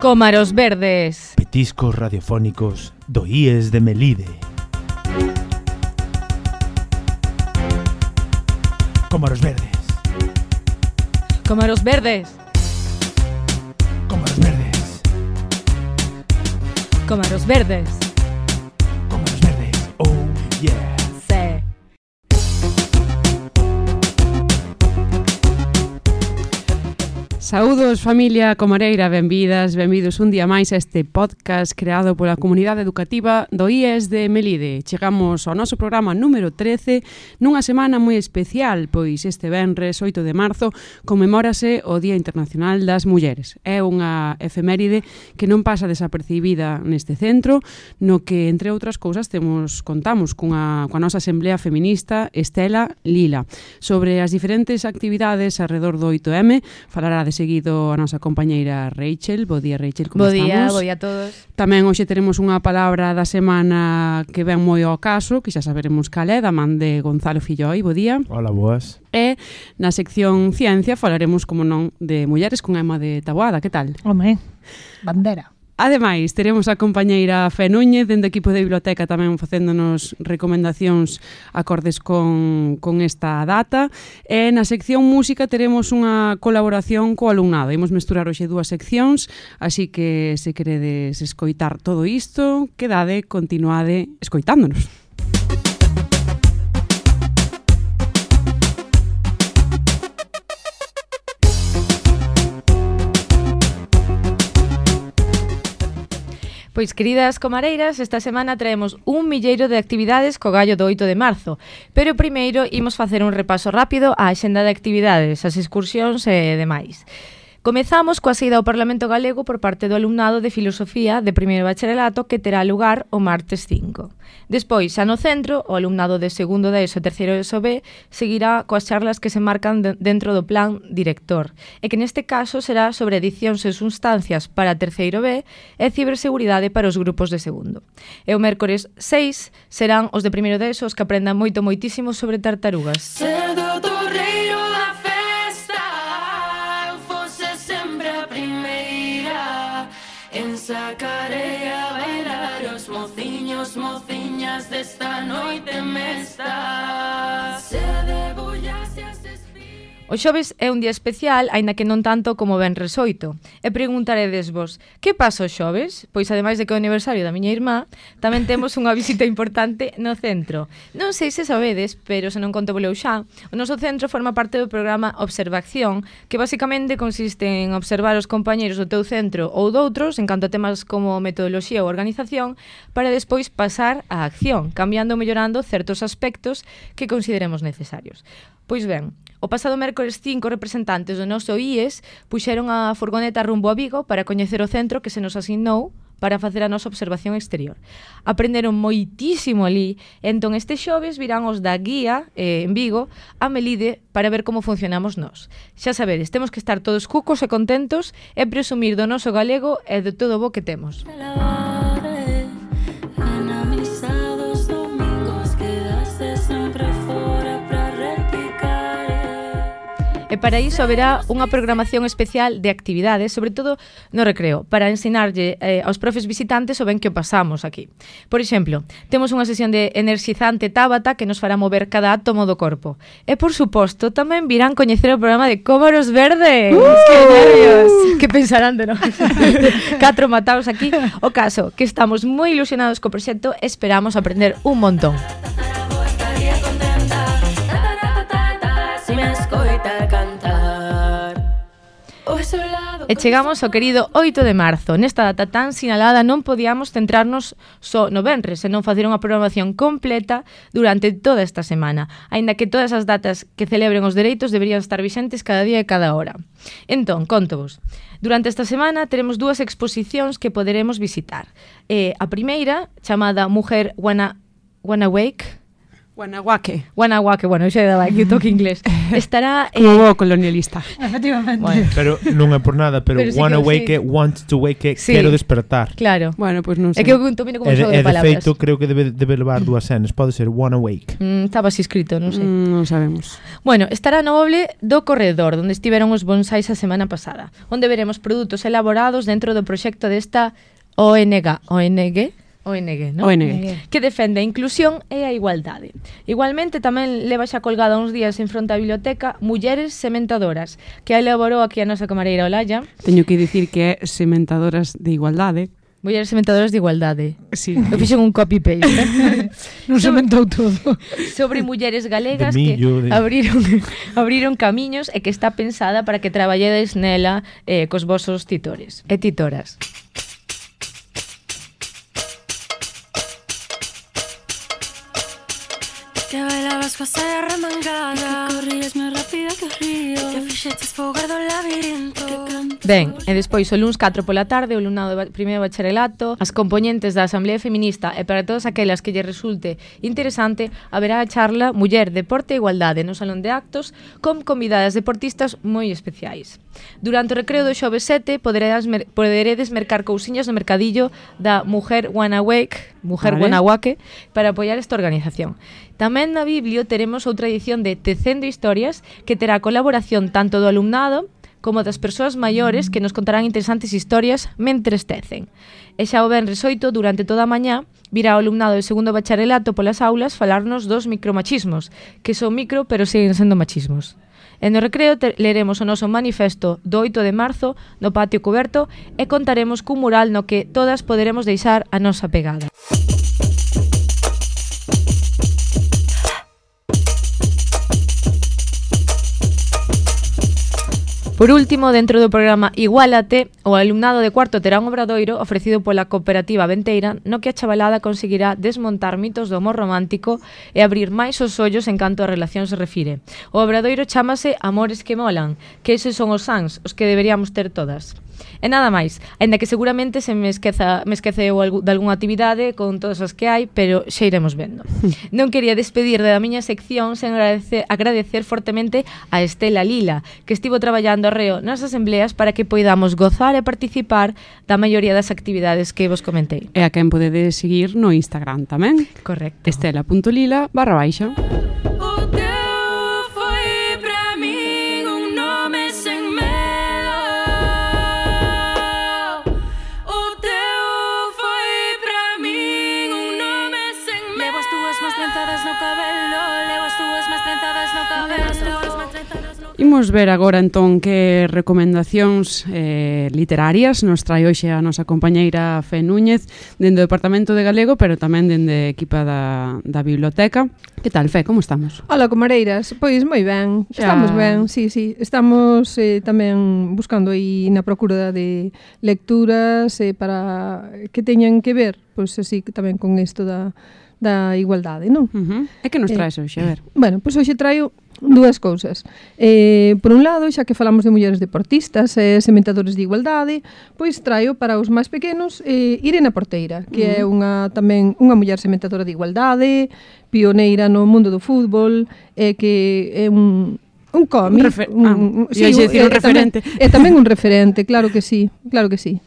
Cómaros verdes. Petiscos radiofónicos do IES de Melide. Cómaros verdes. Cómaros verdes. Cómaros verdes. Cómaros verdes. Cómaros verdes. Oh, yeah. Sí. Saúdos, familia comareira, benvidas, benvidos un día máis a este podcast creado pola comunidade educativa do IES de Melide. Chegamos ao noso programa número 13 nunha semana moi especial, pois este venres 8 de marzo conmemórase o Día Internacional das Mulleres. É unha efeméride que non pasa desapercibida neste centro, no que, entre outras cousas, contamos coa nosa Asamblea Feminista Estela Lila. Sobre as diferentes actividades alrededor do 8M, falará de seguido a nosa compañeira Rachel. Bo día, Rachel, como estamos? Bo día a todos. Tamén hoxe teremos unha palabra da semana que ven moi ao caso, que xa saberemos cal é, da man de Gonzalo Filloi. Bo día. Hola, boas. E na sección Ciencia falaremos, como non, de mulleres con Emma de Taboada. Que tal? Home, bandera. Ademais, teremos a compañeira Fe Núñez dentro do equipo de biblioteca tamén facéndonos recomendacións acordes con esta data. E na sección música teremos unha colaboración co alumnado. Imos mesturar hoxe dúas seccións, así que se queredes escoitar todo isto, quedade, continuade escoitándonos. Pois, queridas comareiras, esta semana traemos un milleiro de actividades co gallo do 8 de marzo. Pero primeiro imos facer un repaso rápido á axenda de actividades, as excursións e demais. Comezamos coa saída ao Parlamento Galego por parte do alumnado de Filosofía de primeiro bacharelato que terá lugar o martes 5. Despois, xa no centro, o alumnado de segundo de ESO e terceiro de ESO B seguirá coas charlas que se marcan dentro do plan director, e que neste caso será sobre edicións e substancias para terceiro B e ciberseguridade para os grupos de segundo. E o mércores 6 serán os de primeiro de ESO os que aprendan moitísimo sobre tartarugas. Sacarei a bailar os mociños, mociñas desta noite mesta. Se debullase as espigas. O xoves é un día especial, aínda que non tanto como o venres 8. E preguntaredes vos, que pasa o xoves? Pois ademais de que é o aniversario da miña irmá, tamén temos unha visita importante no centro. Non sei se sabedes, pero se non conto voleu xa, o noso centro forma parte do programa Observación, que basicamente consiste en observar os compañeros do teu centro ou doutros en canto a temas como metodoloxía ou organización, para despois pasar á acción, cambiando ou mellorando certos aspectos que consideremos necesarios. Pois ben, o pasado mércores 5 representantes do noso IES puxeron a furgoneta rumbo a Vigo para coñecer o centro que se nos asignou para facer a nosa observación exterior. Aprenderon moitísimo ali, entón este xoves virán os da guía en Vigo a Melide para ver como funcionamos nós. Xa sabedes, temos que estar todos cucos e contentos e presumir do noso galego e de todo o bo que temos. E para iso haberá unha programación especial de actividades, sobre todo no recreo, para ensinarlle aos profes visitantes o ben que o pasamos aquí. Por exemplo, temos unha sesión de energizante Tabata que nos fará mover cada átomo do corpo. E, por suposto, tamén virán coñecer o programa de Cómaros Verdes. ¡Que nervios! Que pensarán de nós? 4 mataos aquí. O caso, que estamos moi ilusionados co proxecto, esperamos aprender un montón. E chegamos ao querido 8 de marzo. Nesta data tan sinalada non podíamos centrarnos só no venres, senón facer unha programación completa durante toda esta semana, aínda que todas as datas que celebren os dereitos deberían estar vixentes cada día e cada hora. Entón, contovos. Durante esta semana teremos dúas exposicións que poderemos visitar. A primeira, chamada Mujer Wanna Wake, Guanahuaque. Guanahuaque, bueno, xa daba aquí o toque inglés. Estará... Como bo colonialista. Efectivamente. Bueno, Pero non é por nada, pero Pero sí wanna que wake sí. it, want to wake it, Sí. quero despertar. claro. Bueno, pois non É sei. que eu domino como E xogo de de palabras. feito, creo que debe levar dúas N's. Pode ser wanna wake. Estaba así escrito, non sei. Non sabemos. Bueno, estará no Oble do Corredor, onde estiveron os bonsais a semana pasada, onde veremos produtos elaborados dentro do proxecto desta ONG, ¿no? ONG. Que defende a inclusión e a igualdade. Igualmente tamén leva xa colgada uns días en fronte á biblioteca Mulleres Sementadoras, que a elaborou aquí a nosa camareira Olalla. Teño que dicir que é sementadoras de igualdade. Mulleres Sementadoras de Igualdade. Sí. Eu fixen un copy-paste. Non se mentou todo. Sobre mulleres galegas De millo, que abriron camiños e que está pensada para que traballedes nela cos vosos titores e titoras. Que bailabas coa saia remangada, que corrías máis rápida que o río, que fixeches fogar do labirinto, que canto. Ben, e despois o luns 4 pola tarde o alumnado de primeiro bacharelato, as componentes da Asamblea Feminista e para todas aquelas que lle resulte interesante, haberá a charla Muller, Deporte e Igualdade no Salón de Actos con convidadas deportistas moi especiais. Durante o recreo do xoves 7 poderedes mercar cousiñas no mercadillo da Mujer Guanahuaque para apoiar esta organización. Tamén na Biblio teremos outra edición de Tecendo Historias que terá colaboración tanto do alumnado como das persoas maiores que nos contarán interesantes historias mentres tecen. E xa o venres 8, durante toda a mañá, virá o alumnado do segundo bacharelato polas aulas falarnos dos micromachismos, que son micro pero siguen sendo machismos. E no recreo leremos o noso manifesto do 8 de marzo no patio coberto e contaremos cun mural no que todas poderemos deixar a nosa pegada. Por último, dentro do programa Iguálate, o alumnado de cuarto terá un obradoiro ofrecido pola cooperativa Venteira no que a chavalada conseguirá desmontar mitos do amor romántico e abrir máis os ollos en canto a relación se refire. O obradoiro chámase Amores que molan, que eses son os sans, os que deberíamos ter todas. E nada máis, aínda que seguramente se me esqueceu de algunha actividade con todas as que hai, pero xa iremos vendo. Non quería despedir da miña sección sen agradecer fortemente a Estela Lila, que estivo traballando arreo nas asembleas para que poidamos gozar e participar da maioría das actividades que vos comentei. E a quen podedes seguir no Instagram tamén. Correcto. Estela.lila/baixa. O teu foi pra min un nome sen medo. O teu foi pra min un nome sen medo. Levo as túas máis trenzadas no cabelo, levo as túas máis trenzadas no cabelo, as túas máis trenzadas no cabelo. Imos ver agora entón que recomendacións literarias nos trae hoxe a nosa compañeira Fe Núñez dende o Departamento de Galego, pero tamén dende a equipa da biblioteca. Que tal, Fe, como estamos? Ola, comareiras, pois moi ben, estamos ben, sí, estamos tamén buscando aí na procura de lecturas para que teñan que ver, pois así tamén con isto da igualdade, non? E que nos traes hoxe, a ver? Bueno, pois hoxe traio dúas cousas. Por un lado, xa que falamos de mulleres deportistas e sementadores de igualdade, pois traio para os máis pequenos Irene Porteira, que é tamén unha muller sementadora de igualdade, pioneira no mundo do fútbol, que é un cómic, un referente. É tamén un referente, claro que sí, claro que sí.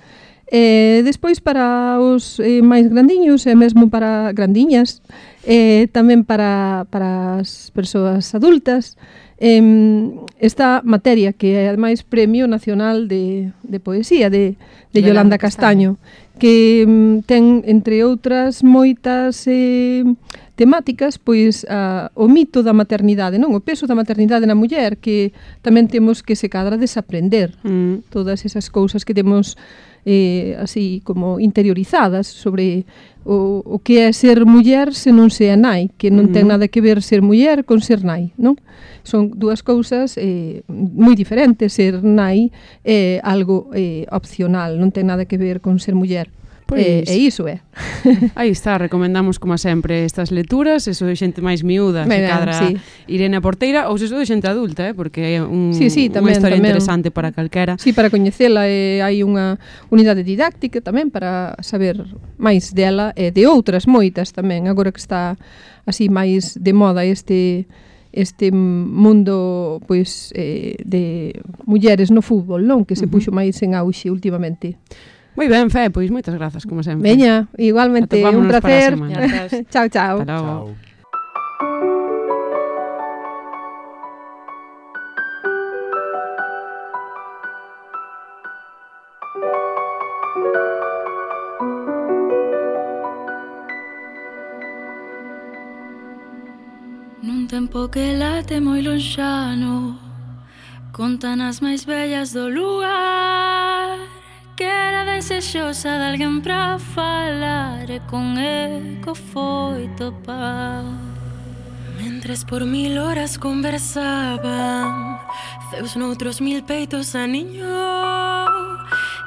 Despois para os máis grandiños e mesmo para grandiñas, tamén para as persoas adultas, esta materia que é ademais Premio Nacional de Poesía de Yolanda Castaño, que ten, entre outras moitas temáticas, pois o mito da maternidade, non? O peso da maternidade na muller, que tamén temos que se cadra desaprender todas esas cousas que temos así como interiorizadas sobre o que é ser muller se non se é nai, que non ten nada que ver ser muller con ser nai, non? Son dúas cousas moi diferentes. Ser nai é algo opcional, non ten nada que ver con ser muller. Pois. E iso é. Aí está, recomendamos como sempre estas lecturas, eso de xente máis miúda, se Ben, cadra sí. Irene Porteira, ou se eso de xente adulta, porque é Sí, unha historia tamén. interesante para calquera. Sí, para coñecela hai unha unidade didáctica tamén para saber máis dela e de outras moitas tamén, agora que está así máis de moda este mundo pois de mulleres no fútbol, non? Que se puxo máis en auxe últimamente. Moi ben, Fe, pois moitas grazas, como sempre. Veña, igualmente, un Atopámonos para a placer. semana. Chao, chao. Ata logo. Chao. Nun tempo que late moi lonxano, contan as máis bellas do lugar, que era desexosa de alguén pra falar, e con eco foi topar. Mentres por 1000 horas conversaban, Zeus noutros 1000 peitos a niño,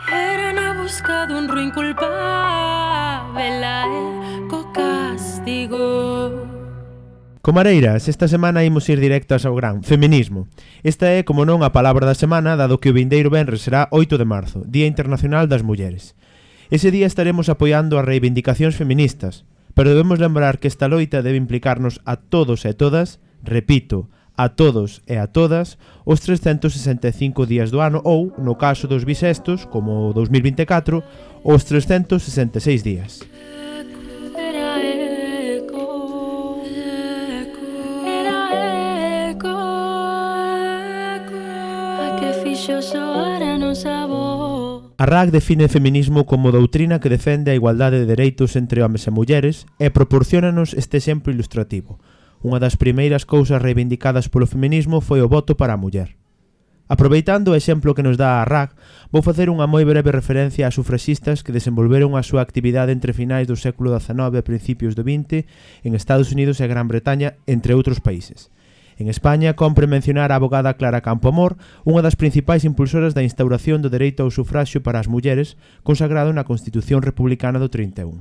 era na busca dun ruín culpável, a eco castigo. Comareiras, esta semana imos ir directas ao gran feminismo. Esta é, como non, a palabra da semana, dado que o vindeiro venres será 8 de marzo, Día Internacional das Mulleres. Ese día estaremos apoiando as reivindicacións feministas, pero debemos lembrar que esta loita debe implicarnos a todos e todas, repito, a todos e a todas, os 365 días do ano ou, no caso dos bisestos, como o 2024, os 366 días. A RAC define feminismo como doutrina que defende a igualdade de dereitos entre homes e mulleres e proporciónanos este exemplo ilustrativo. Unha das primeiras cousas reivindicadas polo feminismo foi o voto para a muller. Aproveitando o exemplo que nos dá a RAC, vou facer unha moi breve referencia ás sufraxistas que desenvolveron a súa actividade entre finais do século XIX e principios do XX en Estados Unidos e Gran Bretaña, entre outros países. En España, compre mencionar a abogada Clara Campoamor, unha das principais impulsoras da instauración do dereito ao sufraxio para as mulleres, consagrado na Constitución Republicana do 31.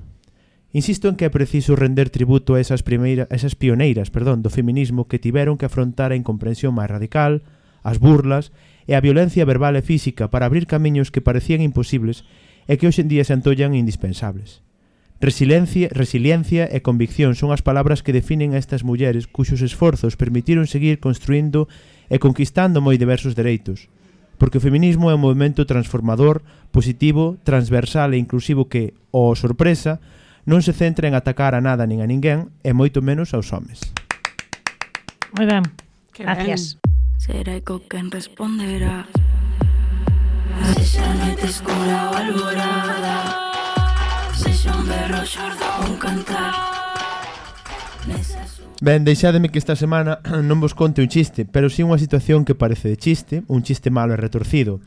Insisto en que é preciso render tributo a esas pioneiras do feminismo que tiveron que afrontar a incomprensión máis radical, as burlas e a violencia verbal e física para abrir camiños que parecían imposibles e que hoxe en día se antollan indispensables. Resiliencia e convicción son as palabras que definen a estas mulleres cuxos esforzos permitiron seguir construindo e conquistando moi diversos dereitos, porque o feminismo é un movimento transformador, positivo, transversal e inclusivo que, ó sorpresa, non se centra en atacar a nada nin a ninguén e moito menos aos homes. Moi ben. Gracias. Será eco quen responderá, se xa noite escura ou alborada, sexa un berro xordo ou un cantar. Ben, deixádeme que esta semana non vos conte un chiste, pero si unha situación que parece de chiste, un chiste malo e retorcido,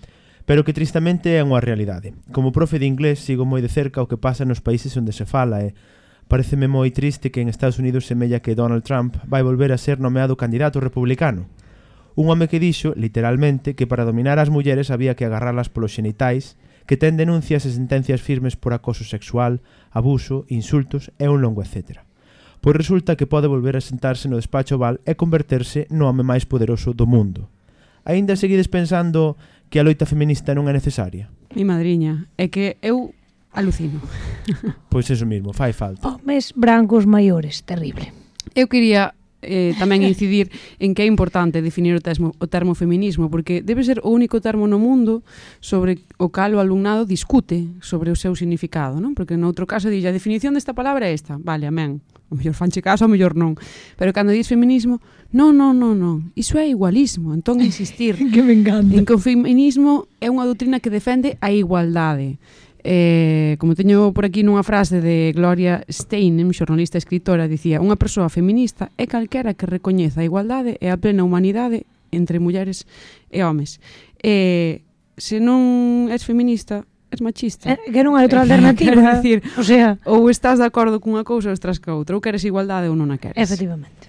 pero que tristamente é unha realidade. Como profe de inglés sigo moi de cerca o que pasa nos países onde se fala e pareceme moi triste que en Estados Unidos semella que Donald Trump vai volver a ser nomeado candidato republicano. Un home que dixo, literalmente, que para dominar as mulleres había que agarralas polos xenitais, que ten denuncias e sentencias firmes por acoso sexual, abuso, insultos e un longo etcétera. Pois resulta que pode volver a sentarse no despacho oval e converterse no home máis poderoso do mundo. Aínda seguides pensando que a loita feminista non é necesaria? Mi madriña, é que eu alucino. Pois eso mismo, fai falta. Homes brancos maiores, terrible. Eu quería tamén incidir en que é importante definir o termo feminismo, porque debe ser o único termo no mundo sobre o cal o alumnado discute sobre o seu significado, non? Porque no outro caso dille, a definición desta palabra é esta, vale, amén, o mellor fanche caso, o mellor non, pero cando dis feminismo, non, iso é igualismo, entón insistir Que me encanta. en que o feminismo é unha doutrina que defende a igualdade. Como teño por aquí nunha frase de Gloria Steinem, xornalista e escritora, dicía: unha persoa feminista é calquera que recoñeza a igualdade e a plena humanidade entre mulleres e homes. Se non és feminista, és machista. Que non hai outra alternativa. Quero dicir, O sea, ou estás de acordo cunha cousa ou estás ca outra, ou queres igualdade ou non a queres. efectivamente.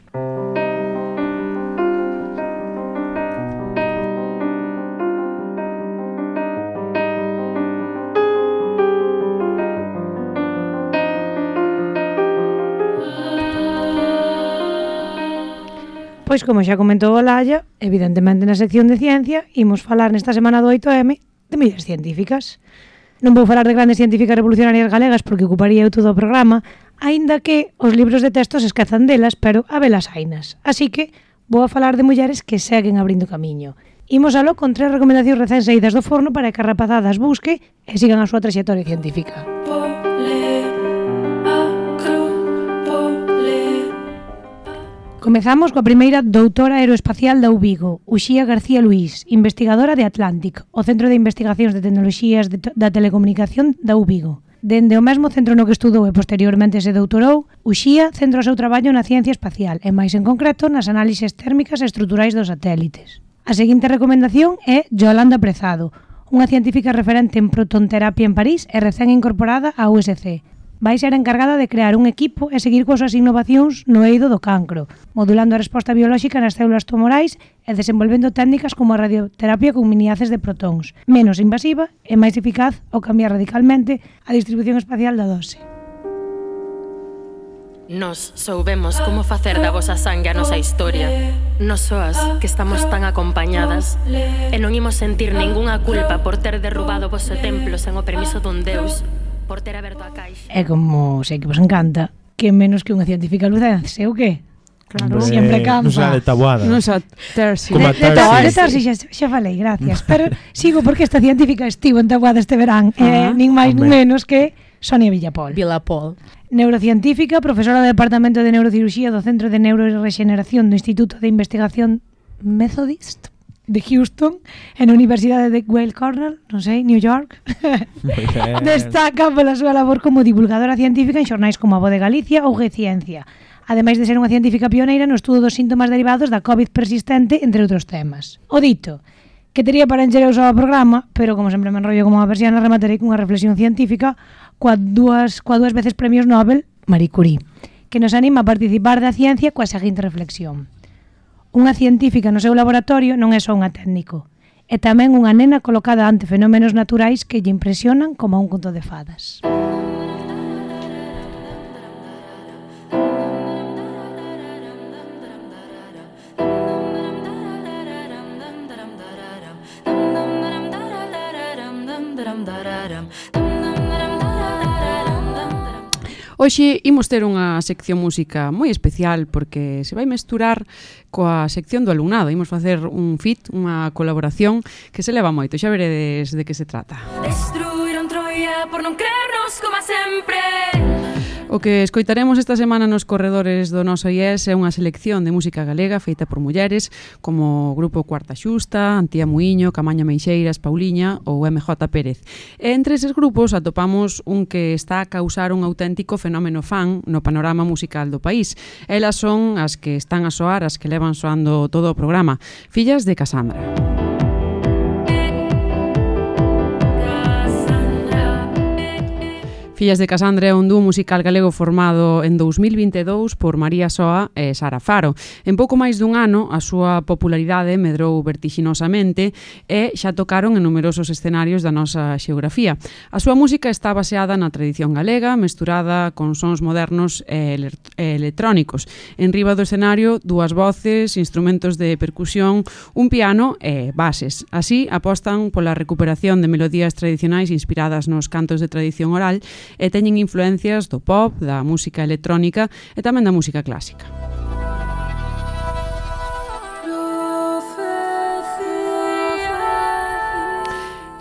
Pois como xa comentou Olalla, evidentemente na sección de ciencia imos falar nesta semana do 8M de mulleres científicas. Non vou falar de grandes científicas revolucionarias galegas porque ocuparía eu todo o programa, aínda que os libros de texto se esquezan delas, pero habelas hainas. Así que vou a falar de mulleres que seguen abrindo camiño. Imos aló con 3 recomendacións recén saídas do forno para que a rapazada as busque e sigan a súa traxectoria científica. Comezamos coa primeira doutora aeroespacial da UVigo, Uxía García Luís, investigadora de Atlantic, o Centro de Investigacións de Tecnoloxías da Telecomunicación da UVigo. Dende o mesmo centro no que estudou e posteriormente se doutorou, Uxía centra o seu traballo na ciencia espacial e máis en concreto nas análises térmicas e estruturais dos satélites. A seguinte recomendación é Yolanda Prezado, unha científica referente en protonterapia en París e recén incorporada á USC. Vai ser encargada de crear un equipo e seguir coas súas innovacións no eido do cancro, modulando a resposta biolóxica nas células tumorais e desenvolvendo técnicas como a radioterapia con miniaces de protóns, menos invasiva e máis eficaz ao cambiar radicalmente a distribución espacial da dose. Nos soubemos como facer da vosa sangue a nosa historia. Nos soas que estamos tan acompañadas e non imos sentir ningunha culpa por ter derrubado o vosso templo sen o permiso dun deus, por ter aberto a caixa. E como sei que vos encanta, que menos que unha científica lucense, o que? Claro, sempre campa. Non sa de tabuada. Non sa terci. Como a De Tarsi xa falei, gracias. Pero sigo porque esta científica estivo en Taboada este verán, nin máis nin menos que Sonia Villapol. Neurocientífica, profesora do Departamento de Neurocirurxía do Centro de Neurorexeneración do Instituto de Investigación Methodist de Houston, en a Universidade de Weill Cornell, non sei, New York. Destaca pola súa labor como divulgadora científica en xornais como A Voz de Galicia ou G-Ciencia, ademais de ser unha científica pioneira no estudo dos síntomas derivados da COVID persistente, entre outros temas. O dito, que tería para encher eu só o programa, pero como sempre me enrollo como unha persiana, rematarei cunha reflexión científica coa dúas veces premios Nobel, Marie Curie, que nos anima a participar da ciencia coa seguinte reflexión. Unha científica no seu laboratorio non é só unha técnico, é tamén unha nena colocada ante fenómenos naturais que lle impresionan como un conto de fadas. Hoxe imos ter unha sección música moi especial porque se vai mesturar coa sección do alumnado. Imos facer un feat, unha colaboración que se leva moito. Xa veredes de que se trata. Destruíron Troia por non creernos como sempre. O que escoitaremos esta semana nos corredores do noso IES é unha selección de música galega feita por mulleres como o grupo Cuarta Xusta, Antía Muiño, Camaña Meixeiras, Pauliña ou MJ Pérez. E entre eses grupos atopamos un que está a causar un auténtico fenómeno fan no panorama musical do país. Elas son as que están a soar, as que levan soando todo o programa, Fillas de Casandra. Fillas de Casandra é un dúo musical galego formado en 2022 por María Soa e Sara Faro. En pouco máis dun ano, a súa popularidade medrou vertixinosamente e xa tocaron en numerosos escenarios da nosa xeografía. A súa música está baseada na tradición galega, mesturada con sons modernos e electrónicos. En riba do escenario, dúas voces, instrumentos de percusión, un piano e bases. Así, apostan pola recuperación de melodías tradicionais inspiradas nos cantos de tradición oral e teñen influencias do pop, da música electrónica e tamén da música clásica.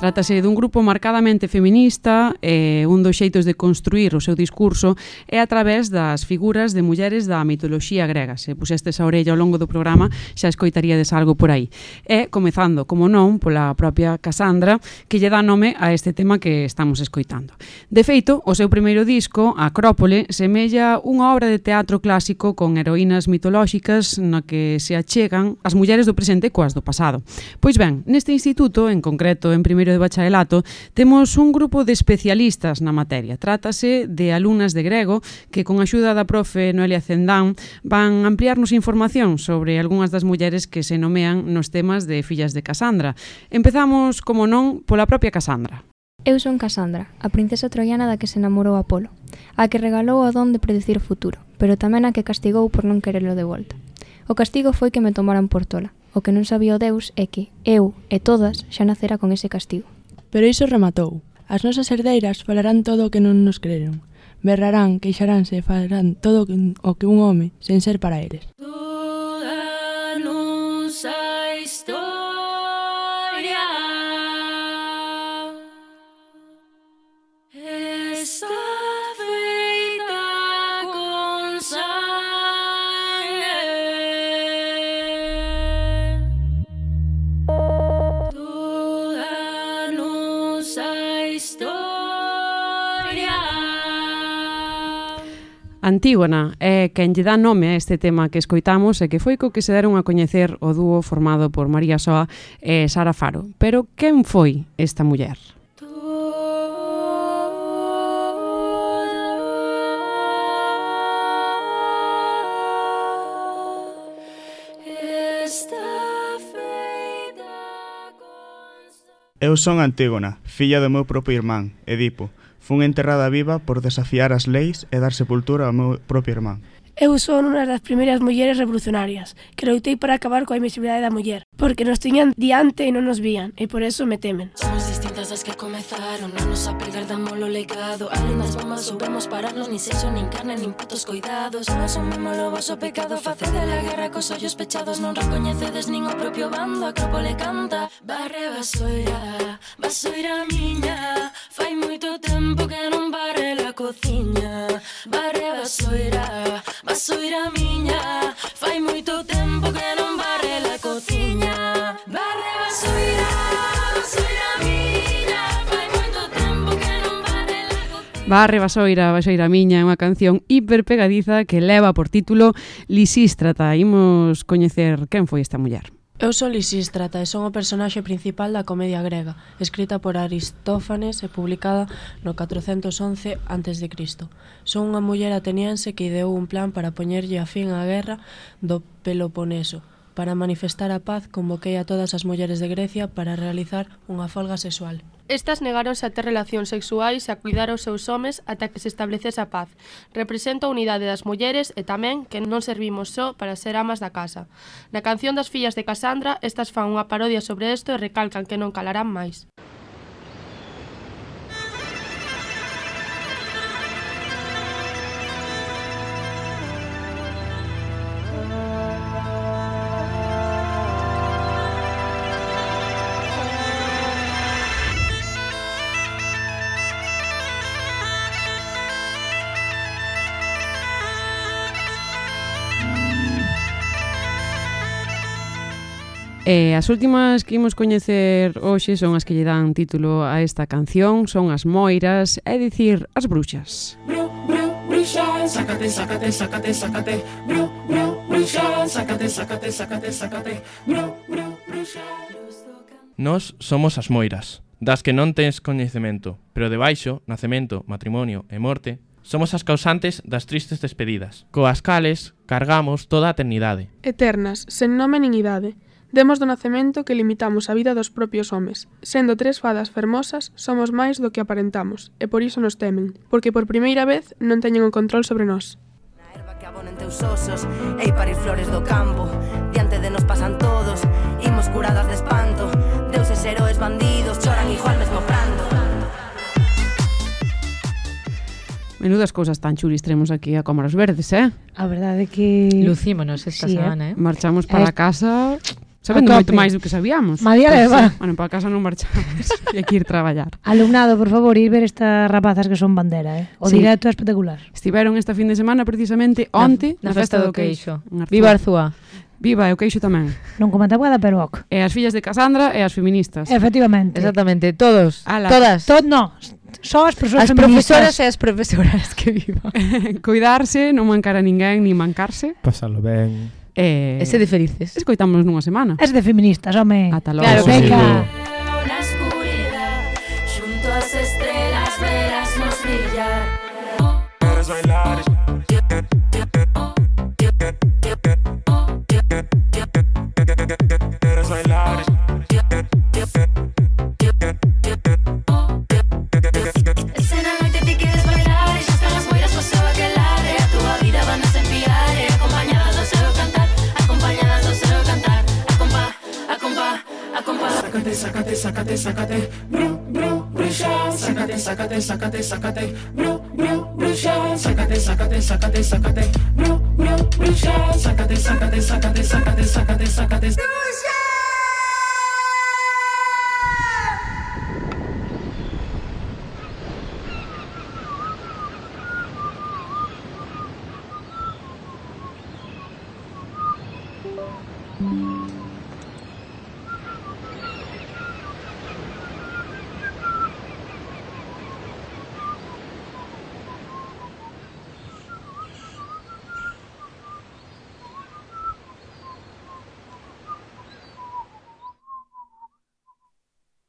Trátase dun grupo marcadamente feminista e un dos xeitos de construir o seu discurso é a través das figuras de mulleres da mitoloxía grega. Se pusestes a orella ao longo do programa xa escoitaríades algo por aí. E comezando, como non, pola propia Casandra, que lle dá nome a este tema que estamos escoitando. De feito, o seu primeiro disco, Acrópole, semella unha obra de teatro clásico con heroínas mitolóxicas na que se achegan as mulleres do presente coas do pasado. Pois ben, neste instituto, en concreto en primeiro de bacharelato, temos un grupo de especialistas na materia. Trátase de alumnas de grego que, con a axuda da profe Noelia Cendán, van ampliarnos información sobre algunhas das mulleres que se nomean nos temas de Fillas de Casandra. Empezamos, como non, pola propia Casandra. Eu son Casandra, a princesa troiana da que se namorou Apolo, a que regalou o don de predicir o futuro, pero tamén a que castigou por non querelo de volta. O castigo foi que me tomaran por tola. O que non sabía o Deus é que eu e todas xa nacera con ese castigo. Pero iso rematou. As nosas herdeiras falarán todo o que non nos creron. Berrarán, queixaránse e farán todo o que un home sen ser para eles. Toda nosa historia está feita con sangue. Toda nosa historia. Antígona é quen lle dá nome a este tema que escoitamos e que foi co que se deron a coñecer o dúo formado por María Soa e Sara Faro. Pero quen foi esta muller? Eu son Antígona, filla do meu propio irmán, Edipo. Fun enterrada viva por desafiar as leis e dar sepultura ao meu propio irmán. Eu son unha das primeiras mulleres revolucionarias que loitei para acabar coa invisibilidade da muller, porque nos tiñan diante e non nos vían, e por eso me temen. Somos distintas das que comezaron, non nos apegar damos o legado. Alén das bombas soubemos pararnos, nin sexo, nin carne, nin putos coidados. Non asumimos o voso pecado, facede la guerra cos ollos pechados. Non recoñecedes nin o propio bando, a Acrópole canta. Barre vasoira miña, fai moito tempo que non barre la cociña. Barre vasoira miña, fai moito tempo que non barre la cociña. Barre vasoira miña, fai moito tempo que non barre la cociña. Barre vasoira miña é unha canción hiper pegadiza que leva por título Lisístrata. Imos coñecer quen foi esta muller. Eu son Lisístrata e son o personaxe principal da comedia grega, escrita por Aristófanes e publicada no 411 a.C. Son unha muller ateniense que ideou un plan para poñerlle a fin á guerra do Peloponeso. Para manifestar a paz, convoquei a todas as mulleres de Grecia para realizar unha folga sexual. Estas negáronse a ter relacións sexuais e a cuidar os seus homes ata que se establecese a paz. Representa a unidade das mulleres e tamén que non servimos só para ser amas da casa. Na canción das fillas de Casandra, estas fan unha parodia sobre isto e recalcan que non calarán máis. E as últimas que imos coñecer hoxe son as que lle dan título a esta canción, son as moiras, é dicir, as bruxas. Bruxa, sácate, sácate, sácate, sácate. Bruxa, sácate, sácate, sácate, sácate. Bruxa. Nós somos as moiras, das que non tens coñecemento, pero debaixo, nacemento, matrimonio e morte, somos as causantes das tristes despedidas, coas cales cargamos toda a eternidade. Eternas, sen nome nin idade. Demos do nacemento que limitamos a vida dos propios homes. Sendo tres fadas fermosas, somos máis do que aparentamos, e por iso nos temen, porque por primeira vez non teñen o control sobre nós. Na erva que abonen teus osos, ei parir flores do campo, diante de nos pasan todos, imos curadas de espanto, deuses, heróis, bandidos, choran igual mesmo pranto. Menudas cousas tan chulis tremos aquí a Cómoras Verdes, A verdade é que... Lucímonos esta semana, Marchamos para casa... Sabendo moito máis do que sabíamos. María leva. Bueno, para casa non marchamos. E aquí ir traballar. Alumnado, por favor, ir ver estas rapazas que son bandera, O directo é espectacular. Estiveron este fin de semana precisamente onte na festa do queixo. Viva Viva Arzúa. Viva, e o queixo tamén. Non como a tabuada, pero ok. E as fillas de Casandra e as feministas. Efectivamente. Exactamente, todos. Todas. No, só as persoas as feministas. Profesoras e as profesoras que vivan. Cuidarse, non mancar a ninguén, ni mancarse. Pasalo ben. E ser de felices. Escoitamos nunha semana. Es de feministas, home. Ata logo. Claro, venga. Na oscuridad, junto ás estrelas verásnos brillar. Quieres bailar. Quieres bailar. Escena noite ti queres bailar e xa están as moiras co seu aquelarre. A túa vida van a desenfiar e acompañadas do seu cantar. sácate, sácate, sácate, sácate, bru, bru, bruxa, sácate, sácate, sácate, sácate, bru, bru, bruxa, sácate, sácate, sácate, sácate, bru, bru, bruxa, sácate, sácate, sácate, sácate, sácate, sácate.